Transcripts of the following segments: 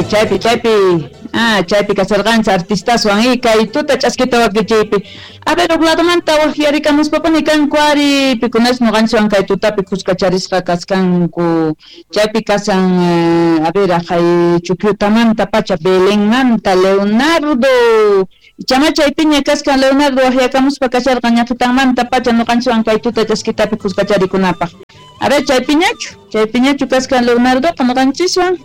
Chaypi, chaypi, chaypi, chaypi kasharqanchis artistaswan y kay tuta ch'askita wakichiypi. A ver, huk ladomanta waqyarikamuspapuni kanku ari, pikunas ñuqanchikwan kay tutapi khuskacharisqa kaskanku. Chaypi kashan, a ver, aqhay Chukyutamanta pacha, Belenmanta, Leonardo. Ichama chaypiña kaskan Leonardo waqyakamuspa kasharqa ñaqitanmanta pacha ñuqanchikwan kay tuta ch'askitapi khuskacharikunapaq. A ver, chaypiñachu, chaypiñachu kaskan Leonardoqa ñuqanchiswan.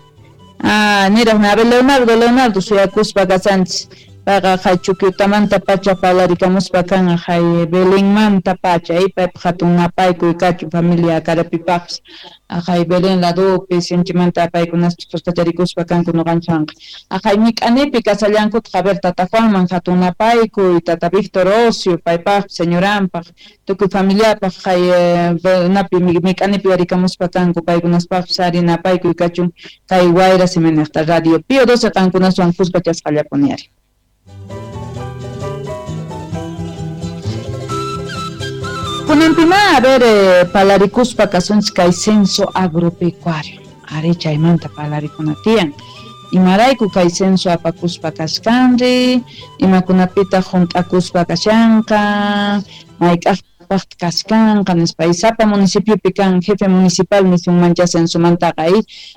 Niraq, a ver, Leonardo, Leonardo, suyakuspa kasanchis. Payqa hay Chukyutamanta pacha parlarikamuspa kan hay Belenmanta pacha, paypaq hatun napaykuy kachun familia Karapipaqpis. Hay Belén ladopi sinchimanta paykunaspas khuskacharikuspa kanku ñuqanchikwanqa. Hay Mik'anipi kasallankutaq, a ver, tata Juanman hatun napaykuy, tata Víctor Ocio, paypaqpis, señoranpaq, tukuy familiapaq, hay napi Mik'anipi yarikamuspa kanku paykunaspaqpis ari napaykuy kachun kay Wayra Simenejta Radio Pío 12 qankunaswan khuskachasqallapuni ari. Kunanpima, a ver, palarikuspa kasunchis kay censo agropecuario. Ari chaymanta palarikuna tiyan. Imarayku kay censo apakuspa kaskanri, imakunapitaq hunt'akuspa kashanqa, mayk'aqpaqtaq kaskanqa nispa. Y sapa municipiopi kan jefe municipal nisunmancha censomantaqa,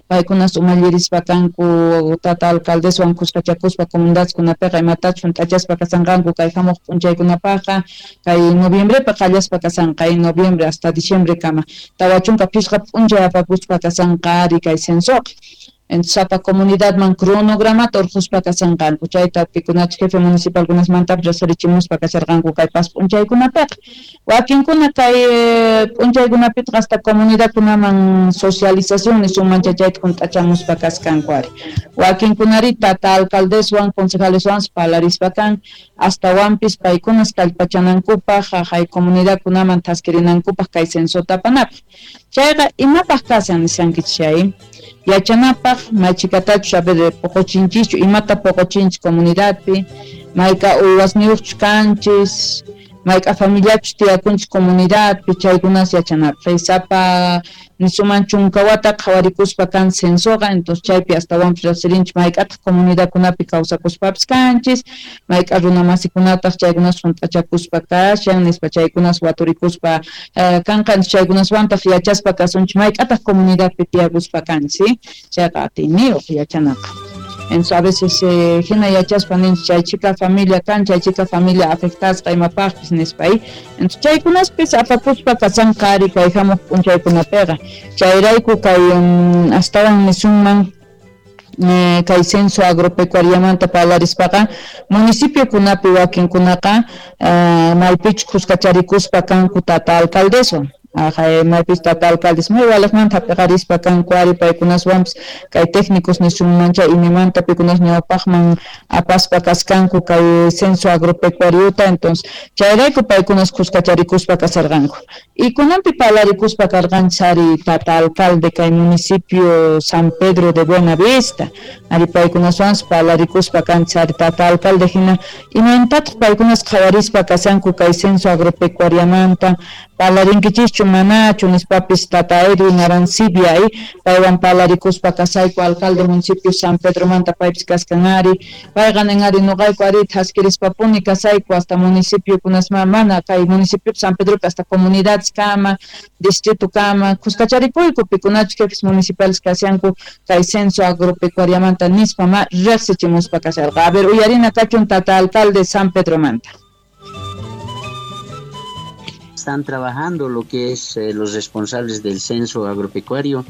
paykunas umallirispa kanku tata alcaldeswan khuskachakuspa comunidadkunapiqa imatachus hunt'achaspa kasanqanku kay hamuq p'unchaykunapaqqa, kay noviembrepi qallaspa kasanqa, noviembre hasta diciembre kama 45 p'unchay apakuspa kasanqa ari kay censoqa. Entonces, sapa comunidadman cronogramata urquspa kasanqanku, chayta pikunachus jefe municipalkunasmantapis riqsirichimuspa kasharqanku kay pas p'unchaykunapiqa. Wakinkuna kay p'unchaykunapitaq hasta comunidadkunaman socialización nisunman chayta hunt'achamuspa kaskanku ari. Wakinkunari tata alcaldeswan concejaleswan parlarispa kan, astawanpis paykunas kallpachanankupaq, hay comunidadkunaman thaskirinankupaq kay censota apanapaq. Chayqa imapaq kashan nishankichis chay? Yachanapaq maychikatachus, a ver, poqochinchischu, imata poqochinchis comunidadpi, mayka uywasniyuqchus kanchis, mayk'a familiachus tiyakunchis comunidadpi, chaykunas yachanapaq. Sapa nisuman chunka wata qhawarikuspa kan censoqa, entonces chaypi astawanpis riqsirinchis mayk'ataq comunidadkunapi kawsakuspapis kanchis, mayk'a runamasikunataq chaykunas hunt'achakuspa kashan nispa, chaykunas waturikuspa kanqa, entonces chaykunaswantaq yachaspa kasunchis mayk'ataq comunidadpi tiyakuspa kanchis, chayqa atiyniyuq yachanaqa. Entonces a veces hina yachaspa ninchis chay chika familia kan, chay chika familia afectasqa imapaqpis nispa, Entonces chaykunaspis apakuspa kasanqa ari kay hamuq p'unchaykunapiqa. Chayrayku kay astawan nisunman kay censo agropecuariamanta parlarispaqa municipiokunapi wakinkunaqa maypichus khuskacharikuspa kanku tata alcaldeswan. Maypis tata alcaldes may waliqmanta hap'iqarispa kanku ari paykunaswanpis kay técnicos nisunman chay imamanta pikunas ñawpaqman apaspa kaskanku kay censo agropecuariota, entonces chayrayku paykunas khuskacharikuspa kasarqanku. Y kunanpi parlarikuspa karqanchis ari tata alcalde kay municipio San Pedro de Buenavista, ari paykunaswanpis parlarikuspa kanchis ari tata alcalde hina imayntataq paykunas qhawarispa kasanku kay censo agropecuariamanta, parlarinkichischu manachu nispapis tata Edwin Arancibia, paywan parlarikuspa kasayku alcalde municipio San Pedromanta paypis kaskan ari, payqa nin ari nuqayku ari thaskirispapuni kasayku hasta municipio kunasma mana kay municipio San Pedropi hasta comunidades kama, distrito kama, khuskacharikuyku pikunachus jefes municipales kashanku kay censo agropecuariamanta nispa ma riqsichimuspa kasharqa. A ver, uyarina kachun tata alcalde San Pedromanta. Están trabajando lo que es los responsables del censo agropecuario.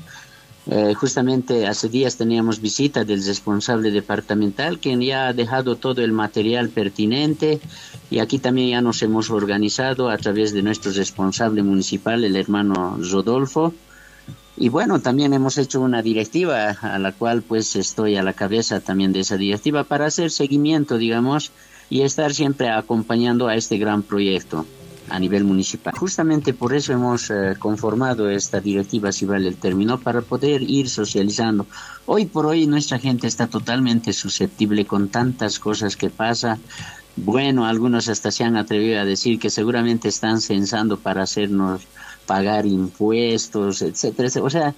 Justamente hace días teníamos visita del responsable departamental, quien ya ha dejado todo el material pertinente, y aquí también ya nos hemos organizado a través de nuestro responsable municipal, el hermano Rodolfo. Y bueno, también hemos hecho una directiva a la cual pues estoy a la cabeza también de esa directiva para hacer seguimiento, digamos, y estar siempre acompañando a este gran proyecto a nivel municipal. Justamente por eso hemos conformado esta directiva, si vale el término, para poder ir socializando. Hoy por hoy nuestra gente está totalmente susceptible con tantas cosas que pasa. Bueno, algunos hasta se han atrevido a decir que seguramente están censando para hacernos pagar impuestos, etcétera, etcétera. O sea,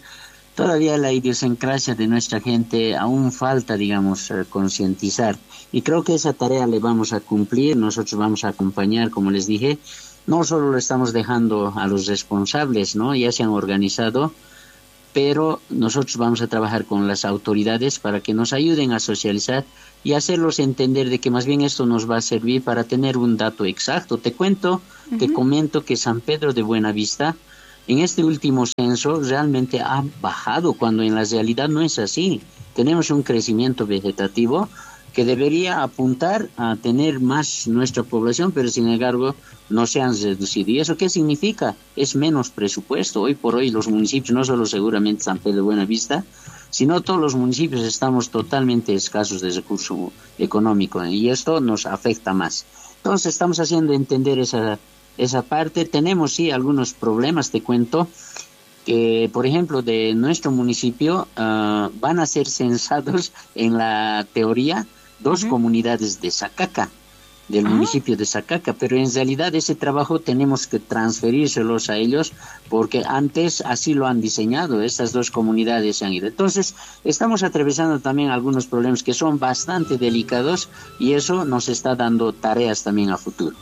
Todavía la idiosincrasia de nuestra gente aún falta, digamos, concientizar. Y creo que esa tarea le vamos a cumplir, nosotros vamos a acompañar, como les dije, no solo lo estamos dejando a los responsables, ¿no? Ya se han organizado, pero nosotros vamos a trabajar con las autoridades para que nos ayuden a socializar y hacerlos entender de que más bien esto nos va a servir para tener un dato exacto. Te cuento, te comento que San Pedro de Buenavista en este último censo realmente ha bajado, cuando en la realidad no es así. Tenemos un crecimiento vegetativo que debería apuntar a tener más nuestra población, pero sin embargo no se han reducido. ¿Y eso qué significa? Es menos presupuesto. Hoy por hoy los municipios, no solo seguramente San Pedro de Buenavista, sino todos los municipios estamos totalmente escasos de recurso económico, y esto nos afecta más. Entonces estamos haciendo entender esa parte. Tenemos sí algunos problemas, te cuento, que por ejemplo de nuestro municipio van a ser censados en la teoría dos comunidades de Sacaca, del municipio de Sacaca, pero en realidad ese trabajo tenemos que transferírselos a ellos, porque antes así lo han diseñado, estas dos comunidades se han ido. Entonces estamos atravesando también algunos problemas que son bastante delicados, y eso nos está dando tareas también a futuro.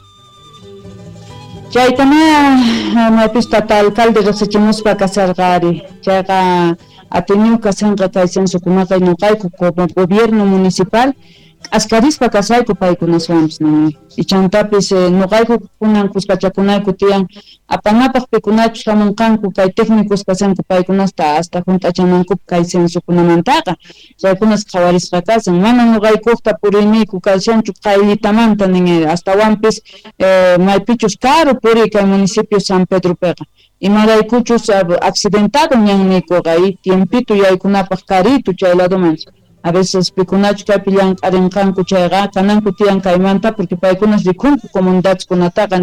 Chaytama maypis tata alcalde riqsichimuspa kasarqari, chayqa atiniw kasanqa kay censokunaqa ñuqayku como gobierno municipal k'askarispa kasayku paykunaswanpis nini. Ichantapis ñuqayku kunan kuskachakunayku tiyan apanapaq pikunachus hamunqanku kay técnicos kasanku paykunasta hasta hunt'achanankupaq kay censokunamantaqa chaykunas qhawarisqa kasan. Mana ñuqaykuqta puriyniyku kashanchu qayllitamanta nin, astawanpis maypichus karu puriy kay municipio San Pedropiqa. Imaraykuchus accidentado ñanniykuqa y tiempito yaykunapaq karito chay ladoman. A veces pikunachu kaypi llank'arinqanku chayqa kananku tiyan kaymanta, porque paykunas rikunku comunidadkunataqa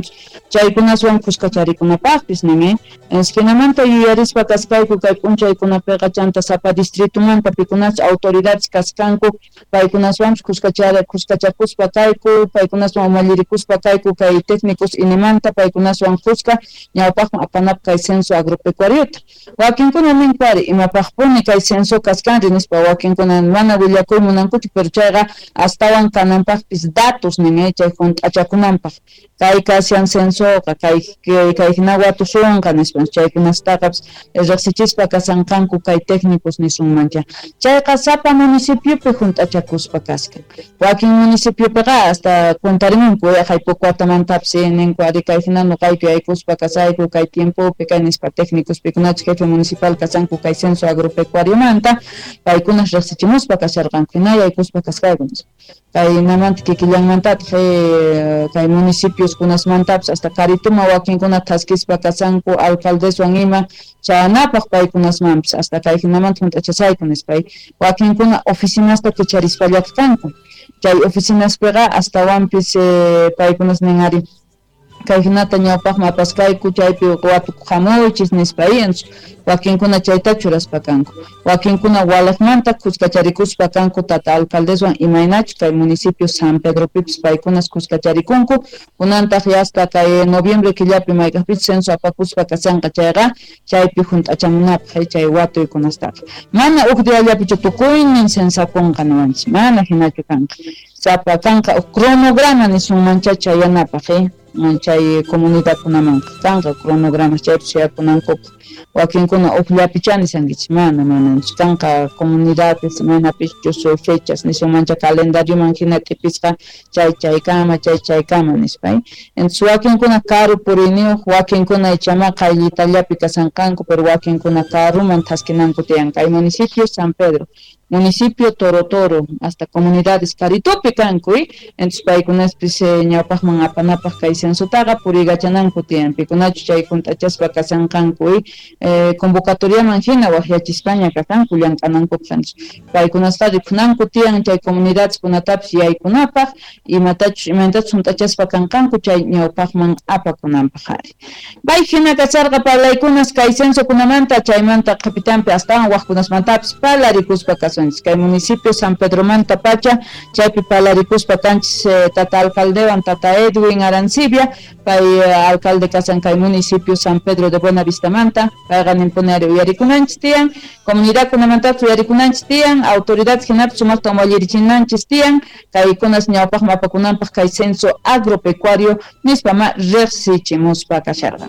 chaykunaswan kuskacharikunapaqpis nin. Jinamanta yuyarispa kaskayku kay p'unchaykunapiqa chanta sapa distritumanta pikunachu autoridades kaskanku paykunaswanpis kuskachakuspa kayku, paykunaswan umallirikuspa kayku kay técnicos inimanta paykunaswan kuska ñawpaqman apanapaq kay censo agropecuariota. Wakinkuna ninku ari imapaqpuni kay censo kaskanri nispa, wakinkuna mana willakuy munankuchu, pero chayqa astawan kananpaqpis datos nin, chay hunt'achakunanpaq kay kashan censoqa kay hina watusunqa nispa, chaykunastaqapis riqsichispa kasanqanku kay técnicos nisunmancha. Chayqa sapa municipiopi hunt'achakuspa kaskan. Wakin municipiopiqa hasta cuentarimunku haypuq watamantapis ninku ari kay hina nuqayku yaykuspa kasayku kay tiempopi kay nispa técnicos pikunachu jefe municipal kasanku kay censo agropecuariomanta paykunas riqsichimuspa kasharqanku hina yaykuspa kasqayku nispa. Kaynamanta kikillanmantataq kay municipios kunasmantapis hasta karituma wakinkuna thaskispa kasanku alcaldeswan ima chayanapaq paykunasmanpis hasta kay hinamanta hunt'achasayku nispa. Wakinkuna oficinasta kicharispallataq kanku, chay oficinaspiqa astawanpis paykunas nin ari kay hinata ñawpaqman apaskayku chaypi watukuq hamuychis nispa, wakinkuna chayta churaspa kanku, wakinkuna walaqmanta kuskacharikuspa kanku tata alcaldeswan imaynachu kay municipio San Pedropipis paykunas kuskacharikunku. Kunantaq hasta kay noviembre killapi mayk'aqpis censo apakuspa kasanqa chayqa chaypi hunt'achamunapaq chay watuykunastaqa. Mana uj diallapichu tukuynin censakunqa niwanchis, mana hinachu kanqa, sapa kanqa uj cronograma nisunmancha chayanapaq chay comunidadkunamanqa kanqa cronogramas chaypi suyakunankupaq. Wakinkuna ujllapicha nisankichis, mana kanqa comunidades manapichus fechas nisunmancha calendarioman hina t'ipisqa chay chaykama chay chaykama nispa. Entonces wakinkuna karu puriyniyuq, wakinkuna ichama qayllitallapi kasanqanku, pero wakinkuna karuman thaskinanku tiyan kay municipio San Pedro, municipio Toro Toro, hasta comunidades karitupi kanku, entonces paykunaspis ñawpaqman apanapaq kay censotaqa puriykachananku tiyan, pikunachu chay hunt'achaspa kasanqanku convocatoriaman hina waqyachispaña kasanku llank'anankupaq. Paykunasqa rikunanku tiyan chay comunidades kunatapis yaykunapaq imatachus imaynatachus hunt'achaspa kanqanku chay ñawpaqman apakunanpaq ari. Bay hina kasarqa parlaykunas kay censokunamanta, chaymanta qhipitanpi astawan waqkunasmantapis parlarikuspa kasunchis kay municipio San Pedromanta pacha chaypi parlarikuspa kanchis tata alcaldewan tata Edwin Arancibia. Valdivia, pay alcalde kasan kay municipio San Pedro de Buenavistamanta, payqa ninpuni uyarikunanchis tiyan, comunidadkunamantapis uyarikunanchis tiyan, autoridad hinapis sumaqta umallirichinanchis tiyan, kaykunas ñawpaqman apakunanpaq kay censo agropecuario nispama riqsichimuspa kasharqa.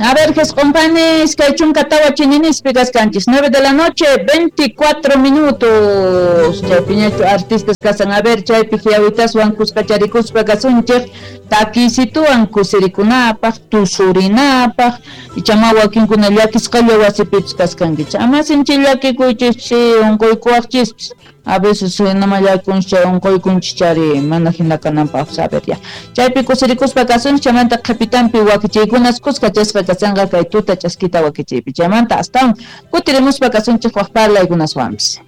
A ver, compañeros, kay chunka tawa chininispi kaskanchis, 9 de la noche, 24 minutos. Chaypiñachu artistas kasan, a ver, chaypi hiawitaswan kuskacharikuspa kasunchik, takisituwan kusirikunapaq, tusurinapaq, ichama wakinkuna llakisqalla wasipipis kaskankichik. Ama sinchi llakikuychis, unquykuwaqchispis. A veces nama llakunchik chay unquykunchik chari mana hina kananpaq saber ya. Chaypi kusirikuspa kasunchik, chaymanta qhipitanpi wakichiykunas kuskachasqa kasanqa kay tuta chaskita wakichiypi. Chaymanta astawan kutirimuspa kasunchik waq parlaykunaswanpis.